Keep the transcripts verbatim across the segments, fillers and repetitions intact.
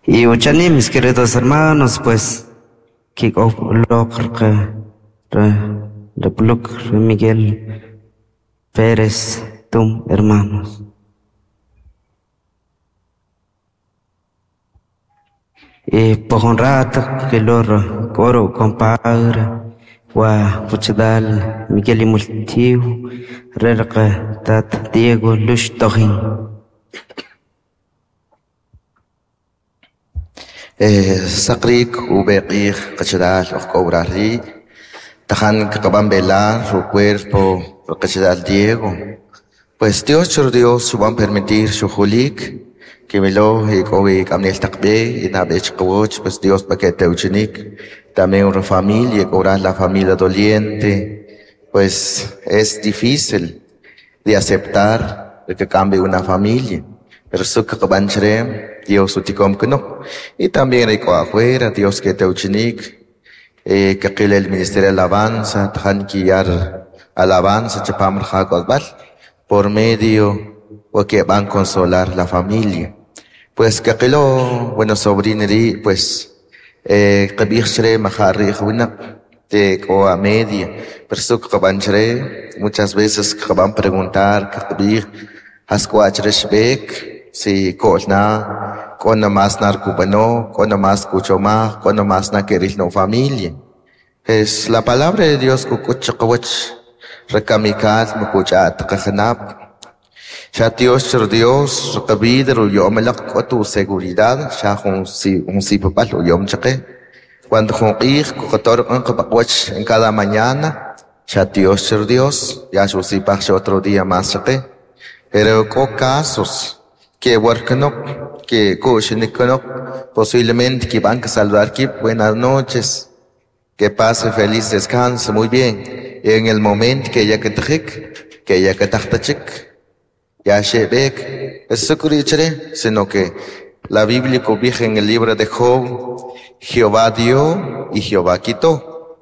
Y uchani, mis queridos hermanos, pues, Kik Miguel Pérez Tum, hermanos. Y por un rato que loro coro compadre wa puchdal Miguel Imultiu rerqa tat Diego Lush Tojin. Saqrik ubeq'ij qachalaal ojk'obrarri tajan kaqab'an velar su cuerpo qachalaal Diego. Pues Dios chur Dios suban permitir su julik que melo y kowi kamnel taqbe y nabech qwoch pues Dios pa que teuchinik también una familia cobrar la familia doliente, pues es difícil de aceptar que cambie una familia, pero su kaqab'an chrem Dios utikom no. Y también hay afuera, Dios que teuchinik, eh, que el ministerio de alabanza, tajan quillar alabanza, chapam rjakodbal, por medio o que van a consolar la familia. Pues que bueno, sobrineri, pues, eh, que majarri, te o a media, pero su que muchas veces que van a preguntar, que haskuachreshbek, si kolna, con más narcubano, con más cuchoma, con más na queril no familia. Es la palabra de Dios kukuchakawach, rekamikal, mukuchat, kajanap. Ya Dios, Dios, rekabid, ruyomelak, tu seguridad, ya un si, un si papal, yom chake. Cuando junqij, kukator, en cada mañana, ya Dios, Dios, ya su si otro día más chake. Pero con casos, que worknok, que kushiniknok, posiblemente que van a saludar que buenas noches, que pase feliz descanso, muy bien. Y en el momento que ya que tejik, que ya que tajtachik, ya shebek, es sucurichere, sino que la Biblia cobija en el libro de Job, Jehová dio y Jehová quitó.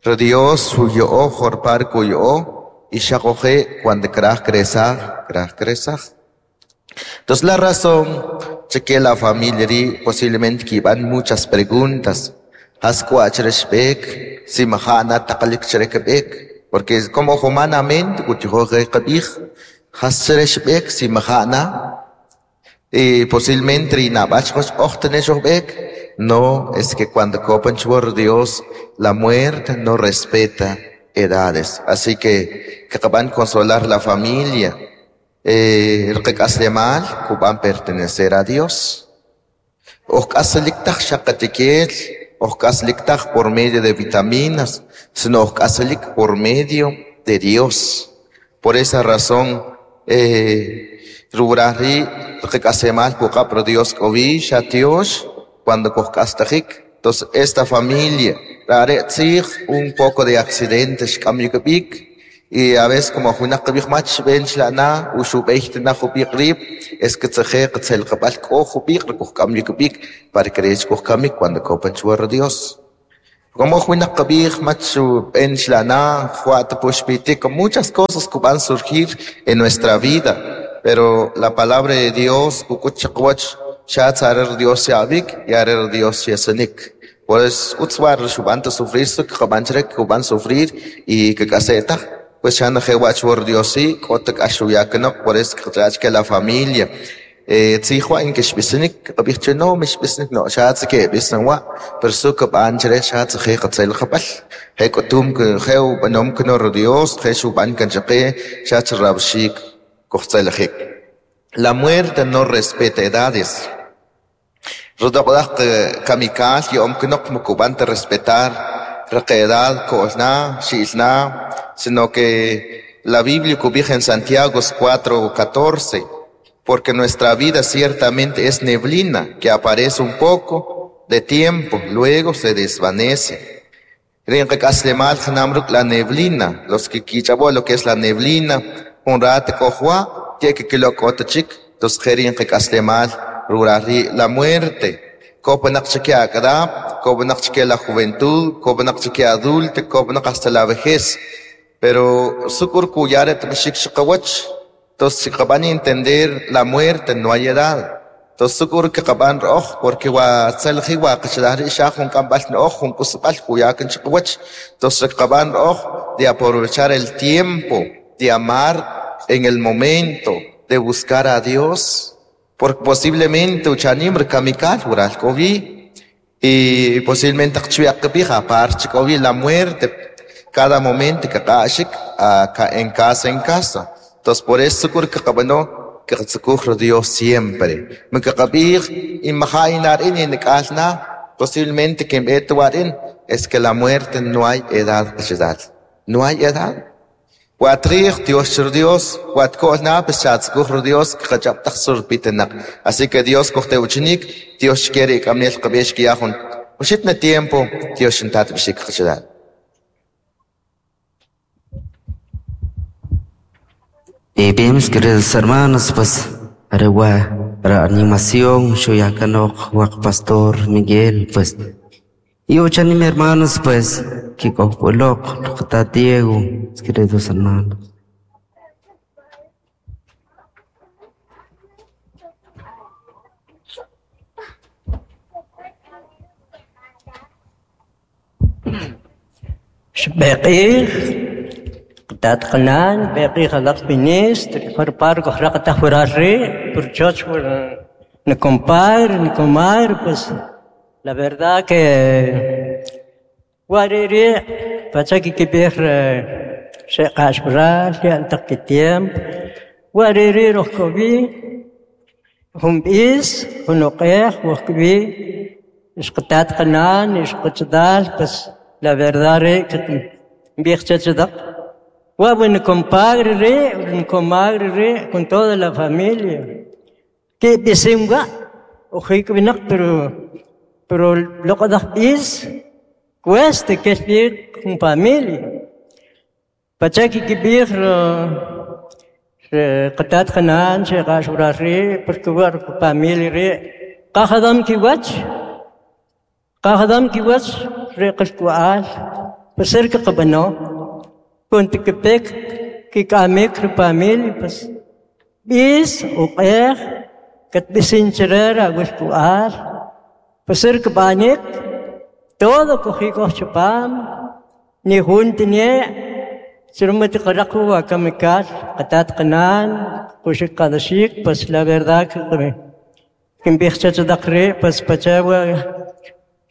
Pero Dios huyó, jorpar cuyó, y shakoje cuando kraj cresaj, kraj cresaj. Entonces la razón que la familia posiblemente que van muchas preguntas. Si porque como humanamente si y posiblemente no es que cuando copan Dios la muerte no respeta edades. Así que que van a consolar la familia. Eh, el que hace mal, van pertenecer a Dios. Ojkasaliktaj shakatikel, ojkasaliktaj por medio de vitaminas, sino ojkasalik por medio de Dios. Por esa razón, eh, rubrari, el que hace mal, pero Dios ovi, shatios, cuando ojkastajik. Entonces, esta familia, un poco de accidentes, cambio que y a veces como una que mach ben shlana ushubecht na jubiqrib es que tseje qtsel qabal ko jubiq ko cambio que para creer ko cambio cuando copan chuar Dios como una que mach ben shlana juat pushpiti con muchas cosas que van a surgir en nuestra vida, pero la palabra de Dios kukuchaqwach shatsarer Dios yabik y arer Dios yesenik. Pues utswar shubanta sufrir su que van sufrir y que caseta pues ya no por Dios sí, kotak ashuyakanok, por eso que la familia. Eh, tzijwa in que shbisnik, abich no, mishbisnik no, shatz que bisnwa, pero su kaban chere shatz he katzel kapal. He kotum que heu banom knor Dios, he shuban kanchake, shatz rabshik, kochtzel hek. La muerte no respeta edades. Rodok kamikal, yom knok mukuban te respetar, requedad, kolna, shilna, sino que la Biblia cobija en Santiago cuatro catorce, porque nuestra vida ciertamente es neblina, que aparece un poco de tiempo, luego se desvanece. La neblina, los que quichabo lo que es la neblina, un rato cojua, que que lo cotachik, dos la muerte. La juventud, adulto, hasta la vejez. Pero sukur kuyaret mishik shqawach, entonces si van a entender la muerte no hay edad. Entonces sukur kaqab'an ro'oj porque wa tzelji wa qachalaj ri' xa jun k'amb'al no'oj jun k'usb'al juyakan chiqawach. Entonces kaqab'an ro'oj de aprovechar el tiempo, de amar en el momento, de buscar a Dios, porque posiblemente uchanim rikamikal wural k'o wi y posiblemente qchwiaq qb'ij apar k'o wi la muerte cada momento kaq'axik en casa en casa. Entonces por eso sukur kaqab'ano kaqtzukuj Dios siempre. Mkaqab'ij imajainar in ink'alna posiblemente que en es que la muerte no hay edad edad. No hay edad. Watrij Dios Dios watko'lna pues chatzukuj Dios kaqach'ab'taj surpitenaq. Así que Dios kojtewchinik, Dios quiere k'amnel qab'ex kiyajun. Uxitna tiempo Dios xintat b'ixik qachadal. Y bien, mis queridos hermanos, pues, arewa, para animación, shoyakanok, wak pastor Miguel, pues, y ochanim hermanos, pues, kikojpolok, rukta Diego, mis queridos hermanos. Shbeqir. Tat qanan beqi khalaq ministre farpar ko khraqta furarri por choch por ni compadre ni comadre, pues la verdad que wariri pachaki kibir se qashbral ya antaq tiempo wariri rohkobi hum is hunuqih wahkobi ishqtat qanan ishqtdal, pues la verdad que bikhchachdaq wa compadre re, comadre re, con toda la familia. Que bisimga, ojik binak, pero pero lo que es cuesta que es bien con familia. Pachaki kibir qatat qanan, sheqashura re, porque war familia re, qahadam kiwach, qahadam kiwach re qashkual, pasir que qabano. Cuando que pek que kamek familia pues bis uqer kat bisincherer aguskuar pasir que banik todo cogí chupam ni juntine sirmat qaraqu wa kamikal qatat qanan qushik qadashik, pues la verdad que kim bikhchachdaqri pues pachawa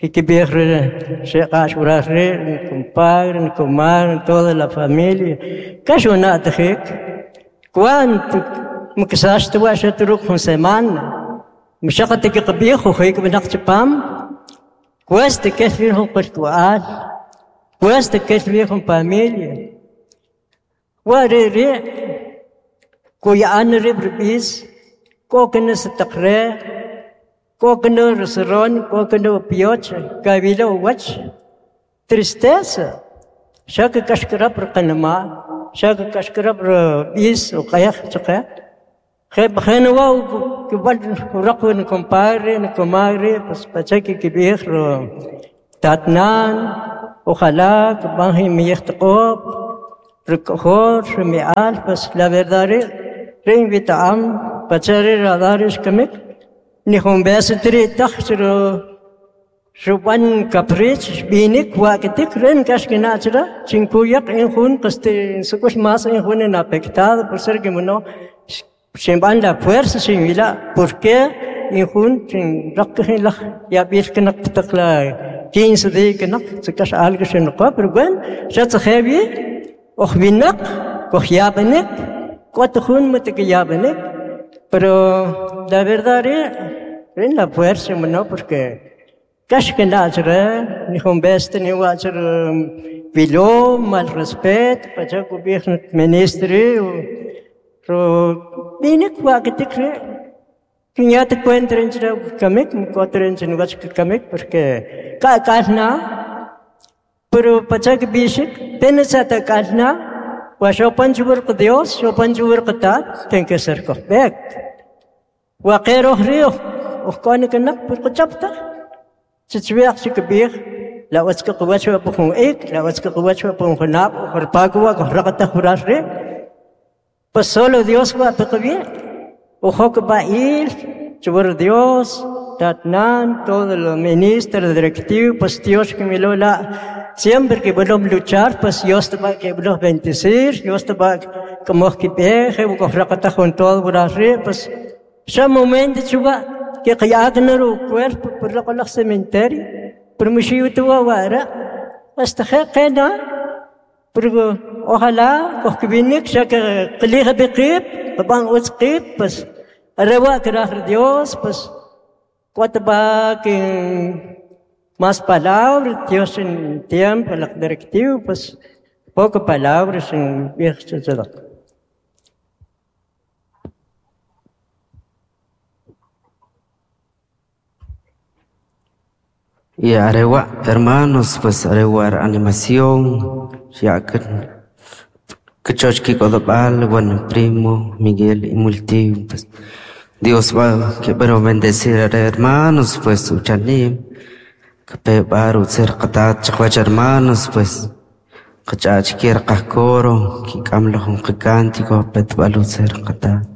que sheqash urarri compadre comadre toda la familia kashuna tajik cuánto mksash tuwa shatruk jun semana mshaqati qbih khik binaqchpam cuesta que firhum qashtual cuesta que firhum familia wariri kuyan ribis koknes taqre kokno rosron kokno pioch kabilo wach tristeza shak kashkra per qanma shak kashkra per bis uqayakh chaqa kheb khanwa kibal raqun compadre comadre pues pachaki kibir tatnan ojalá banhi miyhtqob rukkhor mial pues la verdad re invitam pachare radarish kamik ni jumbesitri taxro shuban caprich binik wakitik ren kashkinachra chinkuyak en jun qaste sukush mas en jun en afectado por ser que no sin la fuerza sin ila por qué en jun sin rakhin la ya bilknak taqla quince días que no se cash algo sin no pero bueno ya se heavy ojbinak kojiabenek cuatro jun matikiabenek pero la verdad es la fuerza no porque kashkinachra ni jumbeste ni wachra viló mal respeto pachaku bir ministri ro binik wakitik ya te encuentren kamik encuentren wach kamik porque ka kalna pero pachak bishik pensa ta kalna wa shopanchur Dios shopanchur qatat ten que ser kofbek wa qero rio ukhkani kanak purqchapta chichwiaq chikbir la watska qwachwa pukhun ik la watska qwachwa pukhun nap khurpagwa khraqta khurashri pues solo Dios va a pedir. Ojo que va a ir, Chubur Dios, Tatnan, todos los ministros, directivos, pues Dios que me lo la, siempre que vuelvo a luchar, pues Dios te va a que a bendecir, Dios te va como que peje, con todo por arriba, pues, ya momento chuba, que que cuerpo por lo cementerio, pero me wara, hasta que pero ojalá que ya que qilija biqib, babang utsqib, pues, arrewa que Dios, pues, cuatro va que más palabras, Dios en tiempo, la directiva, pues, poco palabras en viejo Y arewa, hermanos, pues arewa animación, ya que que kodobal, bueno, primo Miguel y Multi, pues Dios va que pero bendecir a hermanos, pues uchanim, que pe baru ser qatat chaqwach hermanos, pues qachach kier qajkoro, ki kamlo jun qikántico, petbalu ser qatat.